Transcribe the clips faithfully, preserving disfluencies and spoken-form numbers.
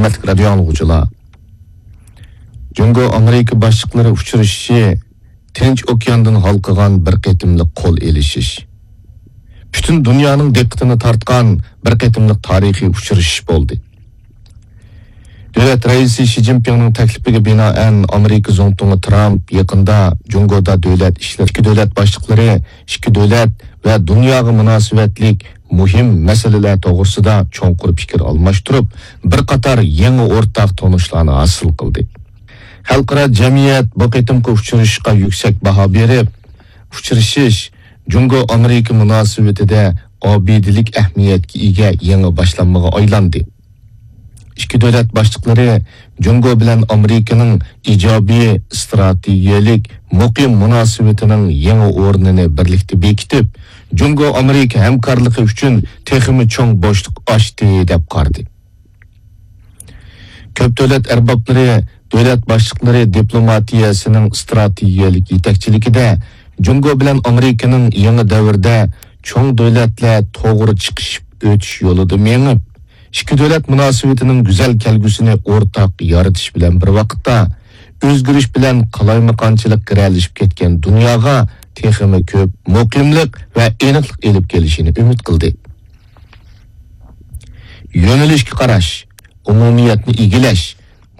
ھۆرمەتلىك رادىيو ئاڭلىغۇچىلار، جۇڭگو ئامېرىكا باشلىقلىرى ئۇچرىشىشى تىنچ ئوكياندىن ھالقىغان بىر قېتىملىق قول ئېلىشىش، پۈتۈن دۇنيانىڭ دىققىتىنى تارتقان بىر قېتىملىق تارىخىي ئۇچرىشىش بولدى. دۆلەت رەئىسى شى جىنپىڭنىڭ تەكلىپىگە بىنائەن، ئامېرىكا زۇڭتۇڭى ترامپ يېقىندا جۇڭگودا دۆلەت ئىشلىرى، ئىككى دۆلەت باشلىقلىرى ئىككى دۆلەت ۋە دۇنياغا مۇناسىۋەتلىك مۇھىم مەسىلىلەر توغرىسىدا چوڭقۇر پىكىر ئالماشتۇرۇپ، بىر قاتار يېڭى ئورتاق تونۇشلارنى ھاسىل قىلدى. خەلقئارا جەمئىيەت بۇ قېتىمقى ئۇچرىشىشقا يۈكسەك باھا بېرىپ، ئۇچرىشىش جۇڭگو ئامېرىكا مۇناسىۋىتىدە ئابىدىلىك ئەھمىيەتكە ئىگە يېڭى باشلانمىغا ئايلاندى. ئىككى دۆلەت باشلىقلىرى جۇڭگو بىلەن ئامېرىكىنىڭ ئىجابىي ئىستراتېگىيەلىك مۇقىم مۇناسىۋىتىنىڭ يېڭى ئورنىنى بىرلىكتە بېكىتىپ، جۇڭگو ئامېرىكا ھەمكارلىقى ئۈچۈن تېخىمۇ چوڭ بوشلۇق ئاچتى، دەپ قارىدى. كۆپ دۆلەت ئەربابلىرى، دۆلەت باشلىقلىرى دىپلوماتىيەسىنىڭ ئىستراتېگىيەلىك يېتەكچىلىكىدە جۇڭگو بىلەن ئامېرىكىنىڭ يېڭى دەۋردە چوڭ دۆلەتلەر توغرا چىقىشىپ ئۆتۈش يولىدا مېڭىپ، ئىككى دۆلەت مۇناسىۋىتىنىڭ گۈزەل كەلگۈسىنى ئورتاق يارىتىش بىلەن بىر ۋاقىتتا، ئۆزگىرىش بىلەن قالايمىقانچىلىق گىرەلىشىپ كەتكەن دۇنياغا تېخىمۇ كۆپ مۇقىملىق ۋە ئېنىقلىق ئېلىپ كېلىشىنى ئۈمىد قىلدى. يۆنىلىشكە قاراش، ئومۇمىيەتنى ئىگىلەش،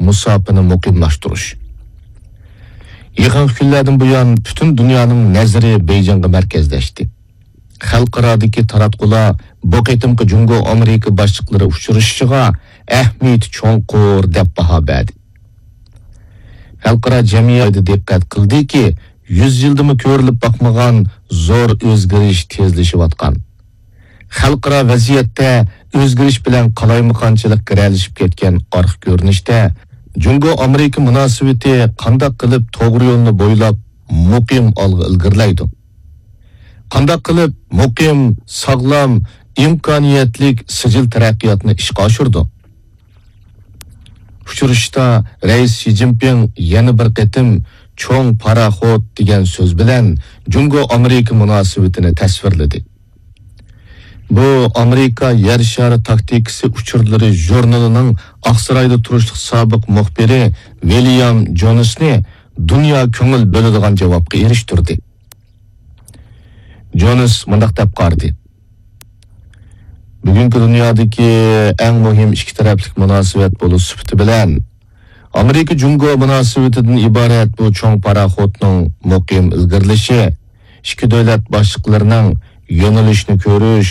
مۇساپىنى مۇقىملاشتۇرۇش. يېقىنقى كۈنلەردىن بۇيان پۈتۈن دۇنيانىڭ نەزىرى بېيجىڭغا مەركەزلەشتى. خەلقئارادىكى تاراتقۇلار بۇ قېتىمقى جۇڭگو ئامېرىكا باشلىقلىرى ئۇچرىشىشىغا ئەھمىيىتى چوڭقۇر دەپ باھا بەردى. خەلقئارا جەمئىيەت دىققەت قىلدىكى، يۈز يىلدىمۇ كۆرۈلۈپ باقمىغان زور ئۆزگىرىش تېزلىشىۋاتقان. خەلقئارا ۋەزىيەتتە ئۆزگىرىش بىلەن قالايمىقانچىلىق گىرەلىشىپ كەتكەن ئارقا كۆرۈنۈشتە، جۇڭگو ئامېرىكا مۇناسىۋىتى قانداق قىلىپ توغرا يولنى بويلاپ مۇقىم ئالغا ئىلگىرىلەيدۇ؟ قانداق قىلىپ مۇقىم، ساغلام، ئىمكانىيەتلىك سىجىل تەرەققىياتنى ئىشقا ئاشۇرىدۇ؟ ئۇچرىشىشتا رەئىس شى جىنپىڭ يەنە بىر قېتىم چوڭ پاراخوت دېگەن سۆز بىلەن جۇڭگو ئامېرىكا مۇناسىۋىتىنى تەسۋىرلىدى. بۇ ئامېرىكا يەر شارى تاكتىكىسى ئۇچۇرلىرى ژۇرنىلىنىڭ ئاقسارايدا تۇرۇشلۇق سابىق مۇخبىرى ۋىليام جونسنى دۇنيا كۆڭۈل بۆلىدىغان جاۋابقا ئېرىشتۈردى. جونس مۇنداق دەپ قارىدى: بۈگۈنكى دۇنيادىكى ئەڭ مۇھىم ئىككى تەرەپلىك مۇناسىۋەت بولۇش سۈپىتى بىلەن، ئامېرىكا جۇڭگو مۇناسىۋىتىدىن ئىبارەت بۇ چوڭ پاراخوتنىڭ مۇقىم ئىلگىرىلىشى، ئىككى دۆلەت باشلىقلىرىنىڭ يۆنىلىشنى كۆرۈش،